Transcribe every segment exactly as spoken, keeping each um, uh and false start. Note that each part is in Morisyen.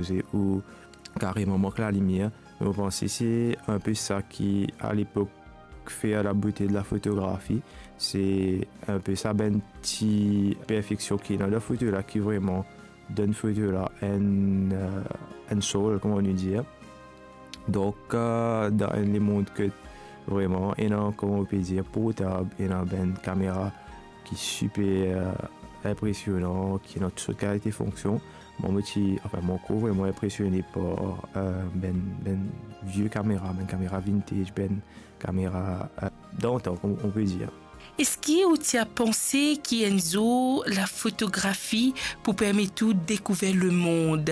koze ou kareman mank lalimier. Me mo panse se inpe sa ki, a lepok, fer labote de la fotografi. Se inpe sa bann ti perfeksion ki ena dan foto la ki vreman donn foto la enn, eh, enn soul, kouma nou dir. Donk, eh, dan enn lemond ki vreman ena, kouma ou pe dir, portab, ena bann kamera ki siper, eh, inpresionan, ki ena tou sort kalite fonksion. Mwa, mo ti, anfin, mo krwar vreman inpresione par, eh, bann, bann vie kamera, bann kamera vintage, bann kamera, eh, dantan, kouma ou pe dir. Eski ou ti a panse ki enn zour lafotografi pou permet ou dekouver lemond?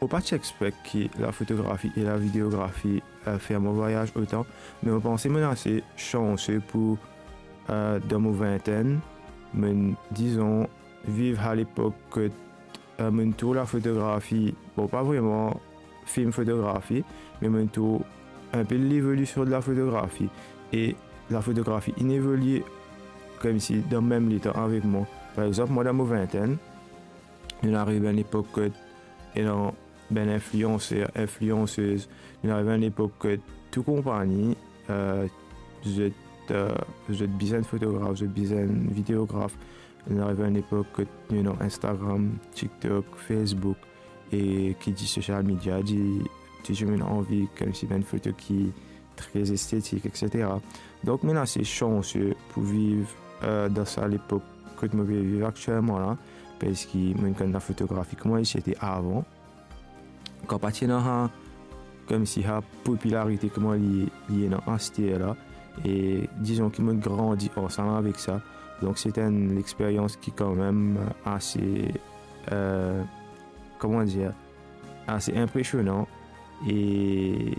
Mo pa ti expect ki lafotografi e lavideografi, eh, fer mo vwayaz otan, me mo panse monn ase sanse pou, eh, dan mo vintenn, monn, dizon, viv a lepok kot, eh, monn trouv lafotografi, bon, pa vreman film fotografi, me monn trouv inpe levolision de lafotografi. E lafotografi inn evolie koumsi dan mem letan avek mwa. Par exanp, mwa dan mo vintenn, nou ariv enn lepok kot ena bann inflianser, infliansez, nou ariv enn lepok kot tou konpagni, eh, zot, eh, zot bizin fotograf, zot bizin videograf. Nou ariv enn lepok kot nou ena Instagram, TikTok, Facebook, e ki dir social media, dir tou dimoun anvi koumsi bann foto ki tre estetik, et cetera. Donk, monn ase sanse pou viv, eh, dan sa lepok kot mo pe viv aktielman la, parski monn konn lafotografi kouma li ti ete avan. Kan pa ti ena sa, koumsi sa popilarite kouma li, li ena aster la, e dizon ki monn grandi ansam avek sa. Donk, se enn lexperyans ki kanmem ase, eh, kouma dir, ase inpresionan. E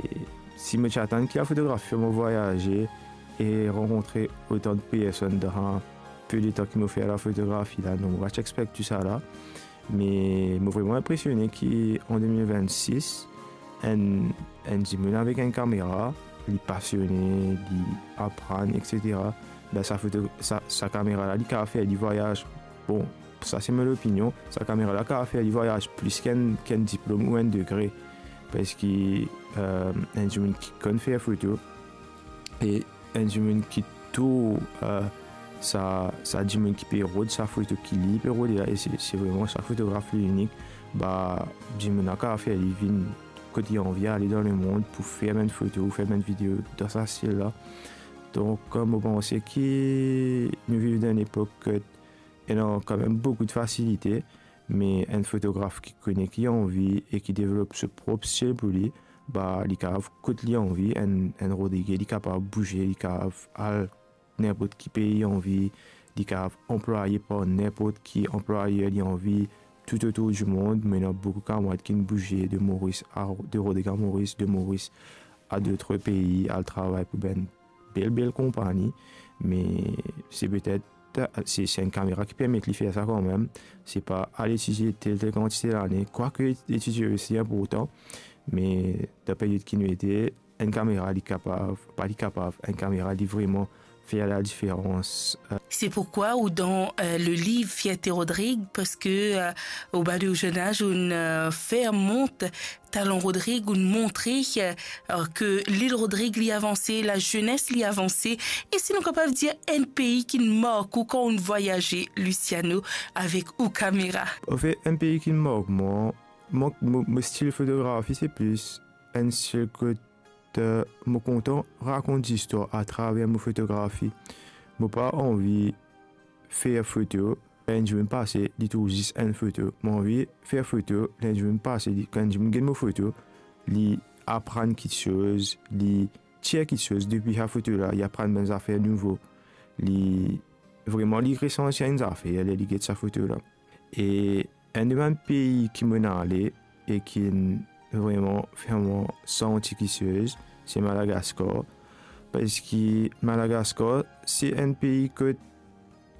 si mo ti atann ki lafotografi fer mo vwayaze e rankontre otan de personn dan pe letan ki mo fer lafotografi la, non, mo pa ti expect tou sa la. Me mo vreman inpresione ki an de mil vennsis, enn, enn dimoun avek enn kamera, li pasione, li aprann, et cetera. Ben, sa foto, sa, sa kamera la, li kapav fer li vwayaz. Bon, sa se mo lopinion. Sa kamera la kapav fer li vwayaz plis ki enn, ki enn diplom ou enn degre. Parski, eh, enn dimoun ki konn fer foto, e enn dimoun ki tou, eh, sa, sa dimoun ki pe rod sa foto ki li pe rode la, e se, se vreman sa fotograf li inik, ba, dimoun la kapav fer li vinn kot li anvi ale dan lemond pou fer bann foto, fer bann video dan sa stil la. Donk, eh, mo panse ki nou viv dan enn epok kot ena kanmem boukou de fasilite, me enn fotograf ki kone ki li anvi e ki devlop so prop stil pou li, ba, li kapav kot li anvi, enn, enn Rodrigue, li kapav bouze, li kapav al ninport ki pei li anvi, li kapav anplwaye par ninport ki anplwayer li anvi, toutotour dimond. Mo ena boukou kamarad ki'nn bouze de Moris a, de Rodrigue a Moris, de Moris a dot pei, al travay pou bann bel, bel konpagni, me se petet, se, se enn kamera ki permet li fer sa kanmem. Se pa al etidie tel, tel kantite lane, kwake etidie osi inportan, me dan peryod ki nou ete, enn kamera, li kapav, pa li kapav, enn kamera, li vreman fer ladiferans. Se pourkwa ou dan, eh, le liv Fierté Rodrigue, parski, eh, ou bann zenn az, ou'nn, eh, fer mont talan Rodrigue, ou'nn montre, eh, ki Lil Rodrigue, li avanse, lazenes, li avanse. E si nou kapav dir enn pei ki'nn mark ou kan ou'nn vwayaze, Luciano, avek ou kamera? Anfet, enn pei ki'nn mark mwa, mo, mo, mo stil fotografi, se plis enn stil kot, eh, mo kontan rakont zistwar atraver mo fotografi. Mo pa anvi fer foto, ler enn dimoun pase, li trouv zis enn foto. Mo anvi fer foto, ler enn dimoun pase, li, kan enn dimoun get mo foto, li aprann kiksoz, li tir kiksoz depi sa foto la, li aprann bann zafer nouvo. Li, vreman, li resanti enn zafer ler li get sa foto la. E enn de bann pei ki mo'nn ale e ki'nn vreman fer mwa santi kiksoz, se Madagaskar. Parski Madagaskar, se enn pei kot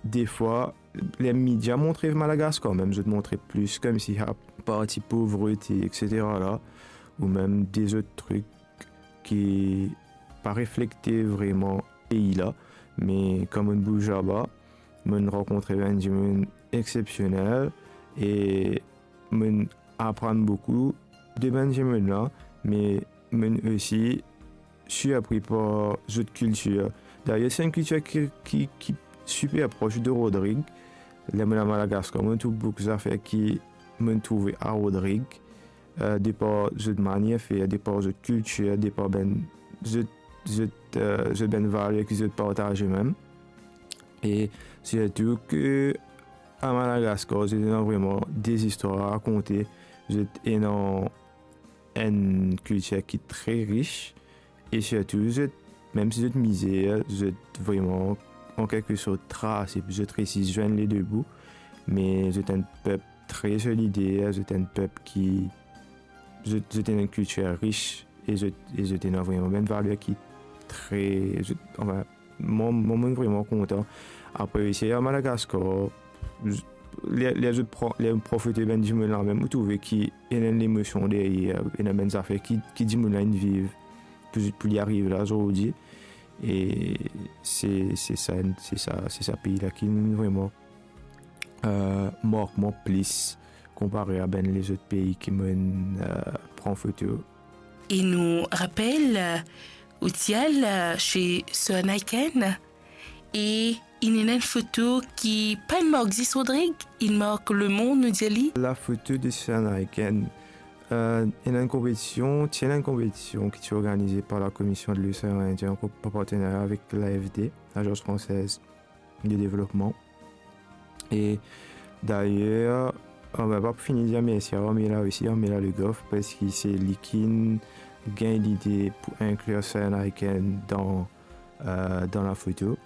defwa, ler media montre Madagaskar, mem zot montre plis koumsi sa parti povrete, et cetera la, ou mem de zot trik ki pa reflekte vreman pei la. Me kan mo'nn bouz laba, mo'nn rankontre bann dimoun exsepsionel e mo'nn aprann boukou de bann dimoun la, me mo'nn osi sirpri par zot kiltir. Dayer, se enn kiltir ki, ki, ki siper pros de Rodrig. Ler mo'nn al Madagaskar, mo'nn trouv boukou zafer ki mo'nn trouve a Rodrig, eh, de par zot manier fer, de par zot kiltir, de par bann zot, zot, eh, zot bann valer ki zot partaze mem. E sirtou ke a Madagaskar, zot ena vreman de zistwar a rakonte, zot ena enn kiltir ki tre ris, e sirtou zot, mem si zot mizer, zot vreman, an kelke sort, trase, zot resi zwenn le de bout, me zot enn pep tre solidar, zot enn pep ki, zot, zot ena enn kiltir ris, e zot, e zot ena vreman bann valer ki tre, zot, anfin, mwa, mwa, mo'nn vreman kontan. Apre, osi a Madagaskar, z-, ler, ler zot pran, ler pran foto bann dimoun la mem, ou trouve ki ena enn lemosion deryer, ena bann zafer ki, ki dimoun la inn viv pou, pou li ariv la zordi. E se, se sa, se sa, se sa pei la ki vreman, eh, mark mwa plis konpare a bann lezot pei ki mo'nn, eh, pran foto. E nou rapel, eh, ou ti al, eh, se Sir Naiken, e inn ena enn foto ki pa'nn mark zis Rodrig, inn mark lemond, nou dir li. Lafoto de Sir Naiken, eh, ena enn konpetision, ti ena enn konpetision ki ti organize par Lakomision de Losean Indien, an ko-, an partenerya avek l'A F D, Agence Française de Développement. E dayer, ah, ben, pa pou fini dir mersi a Armila osi, Armila Le Goff, parski se li ki'nn gagn lide pou inklir Sir Naiken dan, eh, dan lafoto.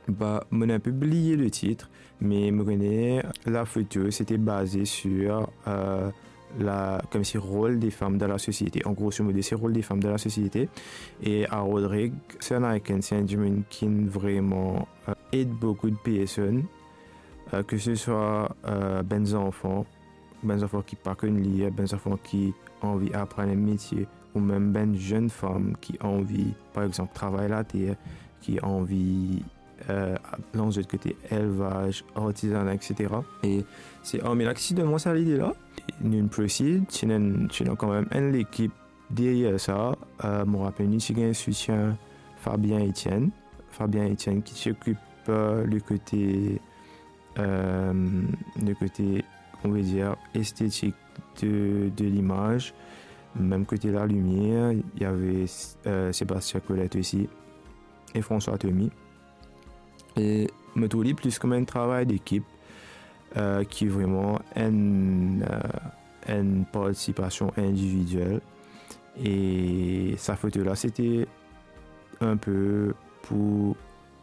Ba, mo'nn inpe bliye le tit, me mo kone lafoto, se ti baze sir, eh, la, koumsi rol de fam dan lasosiete. An groso modo, se rol de fam dan lasosiete. E a Rodrig, Sir Naiken, se enn dimoun ki'nn vreman, eh, ed boukou de personn, eh, ke se swa, eh, bann zanfan, bann zanfan ki pa konn lir, bann zanfan ki anvi aprann enn metie, ou mem bann zenn fam ki anvi, par exanp, travay later, ki anvi, eh, lans zot kote elvaz, artizana, et cetera. E se Armila ki ti donn mwa sa lide la. Nou'nn proceed, ti ena, ti ena kanmem enn lekip deryer sa. Eh, mo rapel nou ti gagn soutien Fabien Etienne. Fabien Etienne ki ti okip, eh, le kote, eh, le kote, on va dire, estetik de, de limaz. Mem kote lalimier, ti ena, eh, Sébastien Colette osi, e François Thomy. E mo trouv li plis kouma enn travay dekip, eh, ki vreman enn, eh, enn partisipasion individiel. E sa foto la, se ti inpe pou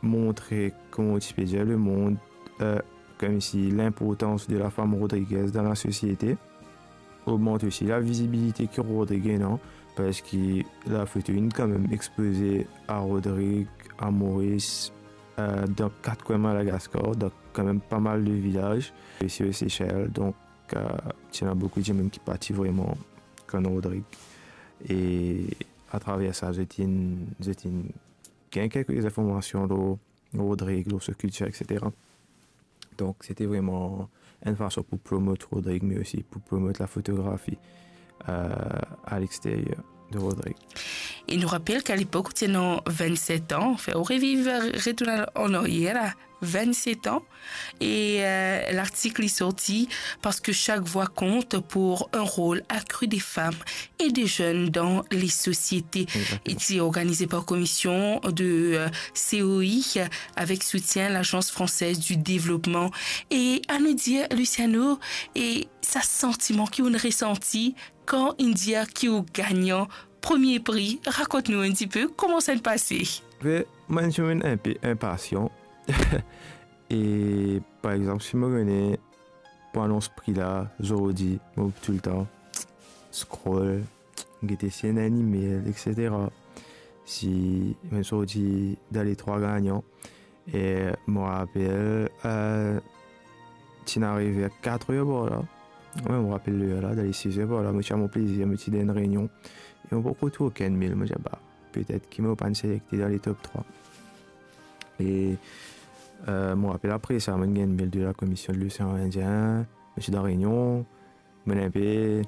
montre, kouma ti pe dir, lemond, eh, koumsi linportans de lafam rodrigez dan lasosiete. Ogmant osi lavizibilite ki Rodrig ena, parski lafoto inn kanmem expoze a Rodrig, a Moris, eh, dan kat kwin Madagaskar, dan kanmem pa mal de vilaz, osi o Sesel. Donk, eh, ti ena boukou dimoun ki pa ti vreman konn Rodrig. E atraver sa, zot inn, zot inn gagn kelke zinformasion lor Rodrig, lor so kiltir, et cetera. Donk, se ti vreman enn fason pou promot Rodrig, me osi pou promot lafotografi, eh, a lexteryer de Rodrig. E nou rapel ki a lepok ou ti ena vennset an, anfin, ou reviv, retourn an aryer la, vennset an, e, eh, lartik li sorti, Parce que chaque voix compte pour un rôle accru des femmes et des jeunes dans les sociétés. Exactement. E ti organize par komision de, eh, C O I, avec soutien Lagence Française du Développement. E anou dir, Luciano, e sa santiman ki ou'nn resanti kan inn dir ki ou gagnan premie pri, rakont nou enn tipe kouma sa inn pase. Be, mwa, mo enn dimoun inpe inpasian. E, par exanp, si mo kone pou anons pri la, zordi, mo toultan scroll, gete si ena enn email, et cetera. Si, mo sorti dan le trwa gagnan, e mo rapel, eh, ti inn arive a katr er par la. Wi, mo rapel ler la, dan le siz er par la, mo ti al mo plezir, mo ti dan enn reynion. E mo pankor trouv okenn email, mo dir, ba, petet ki mo pa'nn selekte dan le top trwa. E, eh, mo rapel apre sa, mo'nn gagn email de la Commission de l'Océan Indien, mo ti dan reynion, mo'nn inpe